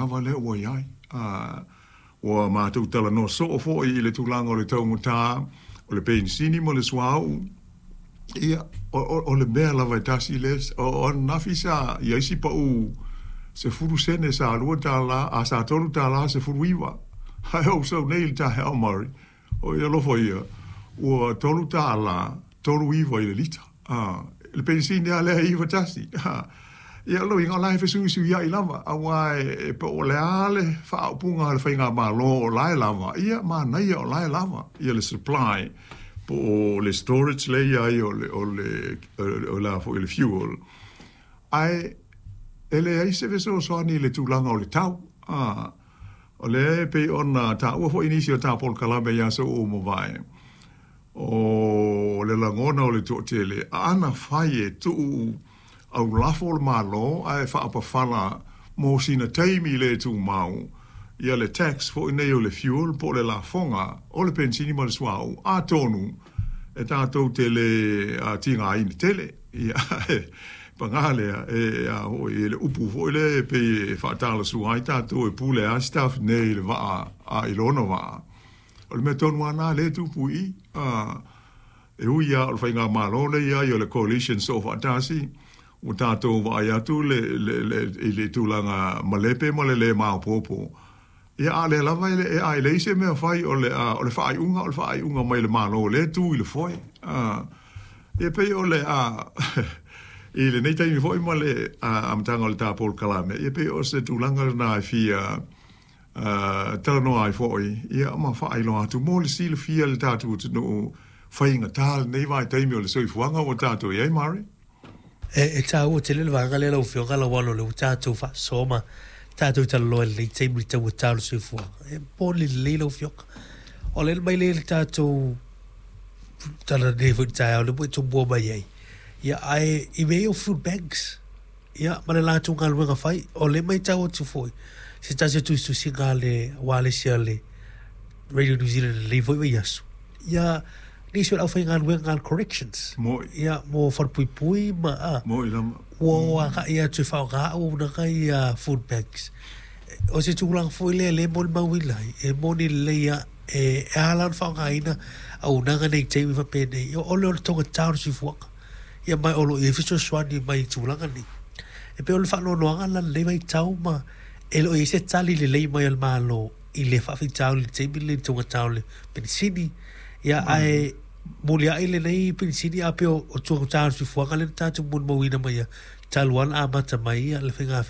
Lava lea ua i ai. Ua matou talanoa soo foi i le tulaga o le taugata o le penisini ma le suauu. Ia, o le mea lava e tasi lea, o ananafi sa i ai si pau 10 sene sa $2, a sa $3.19. Ae ou sau nei i le taeao Murray, oi alofa ia, ua $3.39 i le lita. Le penisini lava lea e 91. Ia, o lona uiga, o la e fesuisuiai lava, aua e po o le a le faaupuga a le faigamalo o la e lava, ia, manaia o la e lava ia le supply po o le storage lea e i ai o le, o le, o le a foi, le fuel, ae e leai se fesoasoani i le tulaga o le tau. O lea e pei ona taua foi i nisi o ta polokalame i aso ua mavae, O le lagona o le toatele, ana fai e tuu aulafo le Malo ae faapafala mo sina taimi le tumau ia le tax foi nei o le fuel po o le lafoga o le penisini ma le suauu, atonu e tatou te le tigaina tele. Ia, paga lea, e a foi, e le upu foi lea e pei e faatalasua ai tatou e pule lava Stuff nei i le vaa a i lona vaa. O le mea tonu lava lena lea e tupu i i. E ui lava o le faigamalo lea e i ai o le coalition soofaatasi, ua tatou vaai atu i le tulaga malepe ma le le maopoopo, ia a o lea lava e leai se mea fai o le faaiuga o le faaiuga mai le Malo o lea e tu i le foe. Ia pei o le i lenei taimi foi ma le amataga o le ta polokalame, ia pei o se tulaga lena e fia talanoa ai foi, ia, ma faailoa atu mo le silafia e le tatou atunuu faigata lenei vaitaimi o le soifuaga ua tatou i ai, Murray. E taua tele le vaega lea lau Afioga Lauano, lea ua tatou faasoa ma tatou talanoa i lenei taimi i le taugata o le soifuaga. E moni lelei lau Afioga. O le mai lea i le tatou tala nei foi i le taeao lea ua e tumua mai ai. Ia, ae i mea ia o food banks, Ia, ma le latou galuega fai. O lea e matau atu foi, se tasi o tusitusiga a le ualesi a le Radio New Zealand i lenei foi vaiaso, ia, nisi o le aufaigaluega a le Corrections. Moi. Ia, mo falepuipui ma, a. Moi lava. Ua o agai atu e faaaoga auaunaga ia food banks. O se tulaga foi lea lea e molimauina ai, e moni lelei lava, e ala ona faaaogaina auaunaga nei i taimi faapenei, o le taugata o le soifuaga. Ia ma o lo o i ai fesoasoani mai i tulaga nei. E pei o le faanoanoaga lena i lenei vaitau ma e le o i ai se tali lelei mai a le Malo i le faafitauli i le taimi lenei i le taugata o le penisini. Ia ae muliai lenei penisini ae pei o le taugata o le soifuaga lea na tatou molimauina mai ia talu lava ona amata mai ia le faiga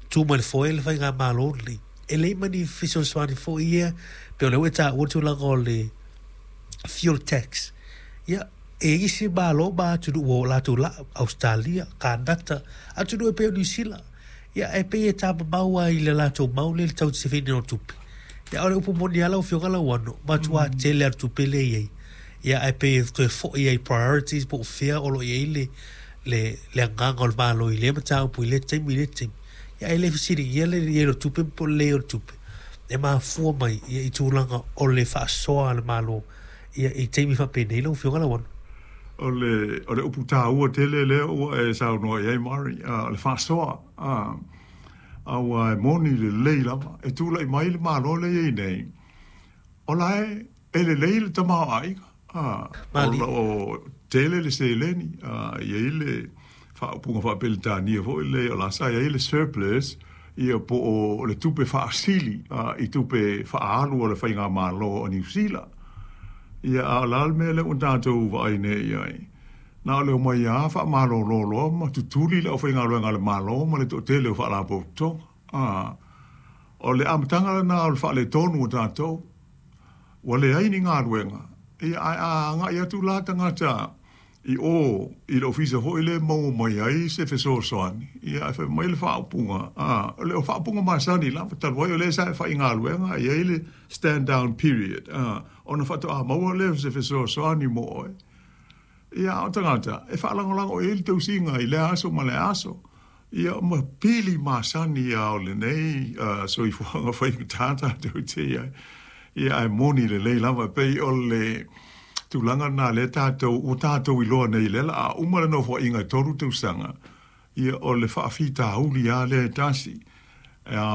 tu mai le foe le faigamalo lenei. E leai ma ni fesoasoani foi ia pei o lea ua e taua le tulaga o le fuel tax. Ia E i ai isi Malo ma atunuu ua o latou laa, Ausetalia, Kanata, atunuu e pei o Niu Sila. Ia, e pei e tamamau lava i le latou mau lea i le tau sefeina o tupe. Ia, o le upu moni lava lau Afioga Lauano, matua tele lava le tupe lea e i ai. Ia, ae pei e toe foi lava i priorities po o fea o lo o i ai le, le, le agaga o le Malo i lea mataupu i lea taimi i lea taimi. Ia, ae le fesiligia le i ai o le tupe po o le leai o le tupe. E mafua mai ia i tulaga o le faasoa a le Malo Ia, i taimi faapenei lau Afioga Lauano. O le, o le upu taua tele lea ua e saunoa i ai Murray, o le faasoa, aua e moni lelei lava, e tulai mai le Malo lea e i ai nei, o la e, e lelei le tamaoaiga, o lo o tele le seleni, e i ai le faaupuga faa-Peretania foi lea, o la sa i ai le surplus, ia po o le tupe faasili i tupe faaalu a le faigamalo a Niu Sila. Ia, a o le a le mea lea ua tatou vaai nei i ai? Na o le omai lava faamalolo loa ma tutuli le aufaigaluega a le Malo ma le toatele o faalapotopotoga. A, o le amataga lena o le faaletonu o tatou. Ua leai ni galuega, ia, ae a agai atu la tagata i o i le ofisa foi lea e maua mai ai se fesoasoani, ia ae fai mai le faaupuga, a, o le faaupuga masani lava, talu ai o lea sa e faigaluega, e i ai le stand down period, a, ona faatoa maua lea o se fesoasoani mo oe. Ia, a o tagata, e faalagolago i ai le tausiga i lea aso ma lea aso. Ia, ma pili masani lava o lenei soifuaga faigata tatou te i ai. Ia, ae moni lelei lava, e pei o le tulaga lena lea tatou, ua tatou iloa nei, lea o le a uma le nofoaiga e 3 tausaga, ia, o le faafitauli lava lea e tasi.